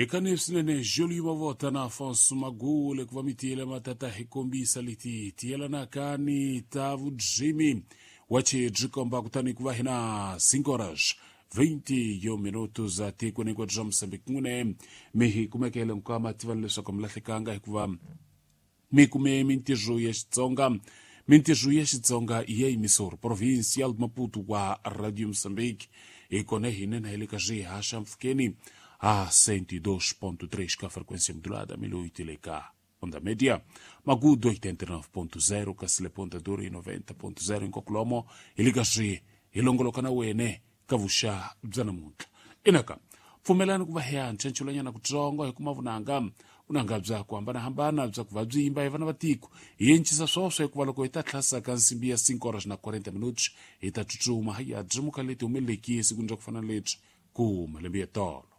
Hikani swinene Jolio Mavota na Afonso Magule ku va mi tiyela matata hi kombisa leti tiyelanaka ni ta vudzimi wache byi komba kutani ku va hina 5 horas 21 minutos atikweni hinkwaro bya Mozambique. N'wine mi hi kumekele nkwama tivani leswaku mi lahlekanga hikuva mi kume mintirho ya Xitsonga. Mintirho ya Xitsonga ya emisor provincial de Maputo wa Radio Mozambique, hi kona hina na hi le ka swihaxa mpfhukeni a 102.3 ka frequência modulada, 1008 le ka onda média, Magudo 89.0, kasi le Ponta Dura 90.0. Hinkwako hi le ka swi hi longoloka na wene ka vuxa bya namuntlha. Inaka pfumelani ku va hi ya nchanchelanyana kutsongo hi kuma vunanga, vunanga bya ku hambanahambana bya ku va byi yimba hi vana va tiko. Hi encisa swoswo hikuva loko hi ta tlhasa ka nsimbi ya 5 horas na 40 minutos hi ta tsutsuma hi ya byimuka leti humeleleki esikwini ra ku fana na lebyi ku malembe ya tolo.